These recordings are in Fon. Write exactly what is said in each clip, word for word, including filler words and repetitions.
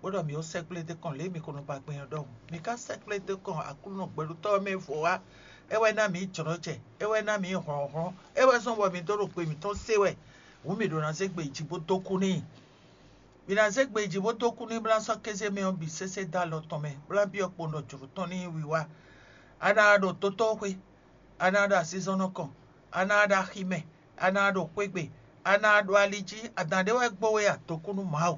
bó ɖɔ mǐ ó sɛkplé dó kɔn lě e mǐ ko nɔ ba gbɛn ɔ́ ɖɔhun. Mǐ ka sɛkplé dó kɔn Aklúnɔ gbɛɖutɔ́ ɔ́ mɛ vo wá. É wɛ ná mǐ jlɔ́ jɛ, é wɛ ná mǐ hlɔ̌nhlɔ́n, é wɛ zɔ́n bɔ mǐ dó ɖo gbe mǐtɔn se wɛ. Hǔn mǐ ɖo ná zé gbe yi jǐ bó dó kú n'i. Mǐ ná zé gbe yi jǐ bó dó kú n'i, bó ná sɔ́ kéze mɛ ɔ́ bǐ sésé dó alɔ tɔn mɛ, bó ná byɔ́ kpowun ɖɔ jlǒ tɔn ní nyí wiwa. A ná ɖo dotóxwé, a ná ɖo azinzɔnnɔ kɔn, a ná ɖo aximɛ, a ná ɖo xwé gbe, a ná ɖo ali jí, adǎn ɖé wɛ gbo we a, dǒkúnú Mawu.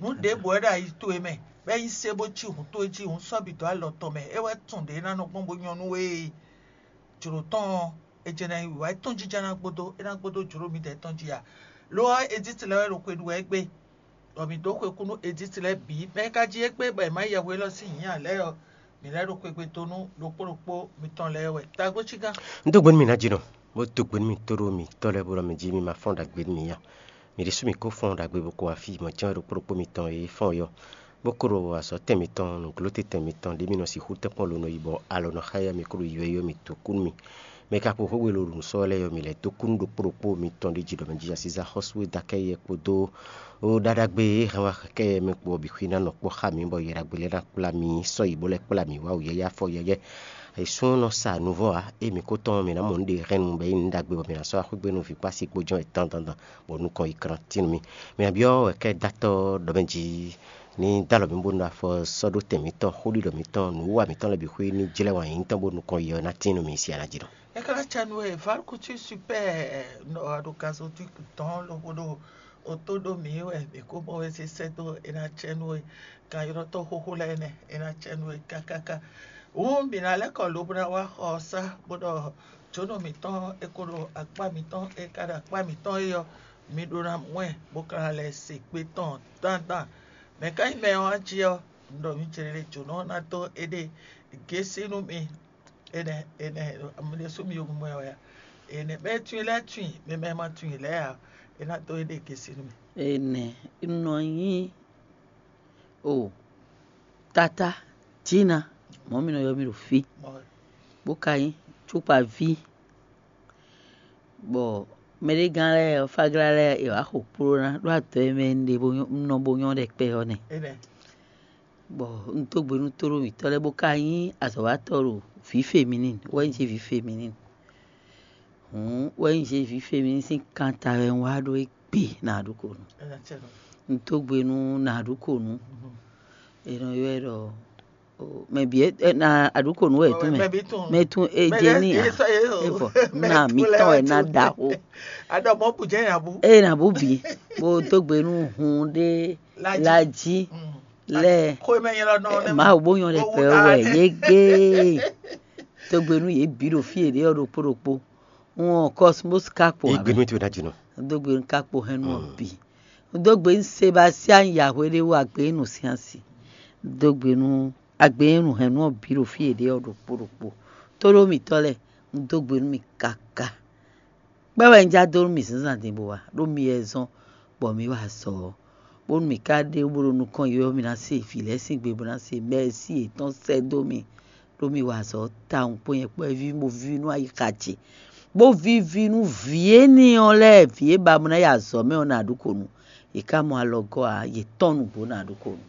Nǔ ɖěbǔ wɛ ɖo ayi towe mɛ, bɔ é nyí sé bó cí hǔn towe jí, hǔn sɔ́ bǐ dó alɔ tɔn mɛ, é wɛ tun ɖě é ná nɔ gbɔn bó nyɔ́ nú we é. Jlǒ tɔn ɔ́, è jɛ ná yi wǐwá, é tɔ́n jínjɔ́n ná gbódó, é ná gbódó jlǒ midɛɛ tɔn jí ǎ. Lo ɔ́, Edíti lɛ́ɛ wɛ ɖo xwe ɖu wɛ égbé, bɔ mǐ dó xwe kú nú Edíti lɛ́ɛ bǐ. Mɛ e ka jí égbé bɔ è má yi yɛhweɖɔ sín nyǐ ǎ lɛ́ɛ ɔ́, mǐ lɛ́ ɖo xwegbe dó nú ɖokpó ɖokpó mitɔn lɛ́ɛ wɛ. Tagbó cí gán. Un dó gbe nú mì ná jínɔ, bó dó gbe nú mì tóɖó mǐtɔn lɛ́ɛ, bó ɖɔ mɛ jí mi ma fɔ́n ɖagbe nú mì ǎ. Mǐ ɖésú mǐ ko fɔ́n ɖagbe bó ko wá fí, mɔ̌ jɛ́n wɛ ɖokpó ɖokpó mitɔn e fɔ́n é ɔ́, bó ko ɖo azɔ̌ tɛn mitɔn, nǔglótɛn tɛn mitɔn ɖě mi nɔ sixú tɛ́nkpɔ́n lo nɔ yi bɔ alɔ nɔ xá yá mi kó ɖo ywɛ́ ɔ́, mǐ dó kú nú mi. Mɛ e ka kpo xwé we lo ɖo nǔ sɔ́ lɛ́ɛ ɔ́, mǐ lɛ́ dó kú nú ɖokpó ɖokpó mitɔn ɖé jí ɖɔ mɛ jí asízá xɔ́sú e dó akɛ́ yɛ kpódó ó ɖaɖagbe e hɛn wá kɛ́ yɛ mɛ kpo ɔ́ bǐ xwí ná nɔ kpɔ́ xá mǐ, bɔ yɛ ɖagbe lɛ́ɛ ná kplá mǐ, sɔ́ yi bó lɛ́ kplá mǐ wá wǔyɛ́yɛ́ afɔ yɛ́yɛ́. Ayǐsún nɔ sa nuvɔ́ ǎ, ée mǐ ko tɔ́n mǐ ná mɔ nǔɖé hɛn nu bɔ é nyí nǔ ɖagbe bɔ mǐ ná sɔ́ axwé gbe nú vǐ kpó asi kpó jɔ́n è dandan, bɔ nukɔn yi kran tín nú mì. Mǐ ná byɔ́ wɛ kɛ́ dó atɔ́ ɖɔ mɛ jí ní dó alɔ mǐ bónú afɔ sɔ́ ɖó tɛn mǐtɔn, xóɖiɖɔ mǐtɔn, nǔwiwa mǐtɔn lɛ́ɛ bǐ xwé ní jlɛ́ wǎn yíyí tɔn bónú nukɔn yi ɔ́ ná tín nú mǐ siya ná jí ɖɔ. É ka ná cɛ nú we, Valkutu super nɔ ɖo gazo dɔn lobo ɖo o tó ɖó mǐ wɛ mǐ ko mɔ we sésɛ dó é ná cɛ nú we. Kan ylɔ́ tɔn xóxó lɛ́ɛ nɛ́, é ná cɛ nú we kákáká. Hǔn mǐ ná lɛ́ kɔ lo bó ná wá xɔ ɔ́ sá, bó ɖɔ jǒnɔ mǐtɔn e ko ɖo akpá mǐtɔn e ka ɖo akpá mǐtɔn é ɔ́, mi ɖó ná mɔ ɛ, bó ka ná lɛ́ se kpé tɔn dandan. Mɛ̌ ka nyí mɛ ɔ́ jí ɔ́? Un ɖɔ mi jlɛ́ jǒnɔ ɔ́ ná dó éɖée gěsí nú mi. Énɛ́ énɛ́ mi ɖésú mi yovó mɔ ɛ wɛ a? Énɛ́ mɛ tunwun lɛ́ɛ tunwun, mɛ mɛ ma tunwun lɛ́ɛ ǎ, é ná dó éɖée gěsí nú mi. Énɛ́ un nɔ nyí o tata Jina, mɔ̌ mi nɔ ylɔ́ mì ɖo fí, bó ka nyí cukpaví, bɔ mɛɖégán lɛ́ɛ, fáglá lɛ́ɛ, è wǎ xo kpló ná ɖó adɔ e mɛ un ɖe bó nyɔ́, un nɔ bó nyɔ́ ɖɛkpɛ ɔ́ nɛ́. Bɔ un dó gbe nú tóɖó mǐtɔn lɛ́ɛ, bó ka nyí azɔ̌watɔ́ ɖo vǐ Feminine, wɛ nyí jě vǐ Feminine. Hǔn wɛ nyí jě vǐ Feminine sín kanta wɛ un wá ɖó égbé na aɖǔkonu. Un dó gbe nú na aɖǔkonu, è nɔ ylɔ́ ɛ ɖɔ mɛ bǐ na aɖǔkonu wɛ è tún mɛ, mɛ tún e jɛ ní ǎ. Evɔ na mǐtɔn wɛ na ɖaxó. Aɖɔ mɔ bù jẹ́ ìyàbú. Eye na bú bǐ, bó dó gbe nú hun ɖé la jí lɛ. Mawu bó nyɔ́ ɖɛkpɛ wɛ yé gé. Dó gbe nú yě bǐ ɖo fí yě ɖe ɔ́ ɖokpó ɖokpó. Un ɔn Cosmos ka kpo. Igbe nú ti ná jínɔ. Dó gbe nú ka kpo hɛn nú ɔ bǐ. Dó gbe nú Sebastian Yahweh ɖé wú agbe nú sín asi. Dó gbe nú agbe nú hɛn nú ɔ bǐ ɖo fí yě ɖe ɔ́ ɖokpó ɖokpó. Tóɖó mǐtɔn lɛ́ɛ, un dó gbe nú mì káká. Kpɛ́ wɛ un já dó nú mì zǎnzǎn din bó wá, ɖó mi wɛ zɔ́n bɔ mǐ wa azɔ̌ ɔ́, bónú mǐ ka ɖe bó ɖo nukɔn yi ɔ́, mǐ ná se vǐ lɛ́ɛ sín gbe bó ná se mɛ̌si yětɔn sɛ́ dó mì, ɖó mi wa azɔ̌ tawun kpó nyɛ kpó ví bó víví nú ayixa ce, bó víví nú vǐ énɛ́ ɔ́ lɛ́ɛ, vǐ e ba bó ná yi azɔ̌ mɛ ɔ́ ná ɖu kǒ nu. Yě ká mɔ alɔgɔ́ ǎ, yě tɔ́n nǔgbó ná ɖu kǒ nu.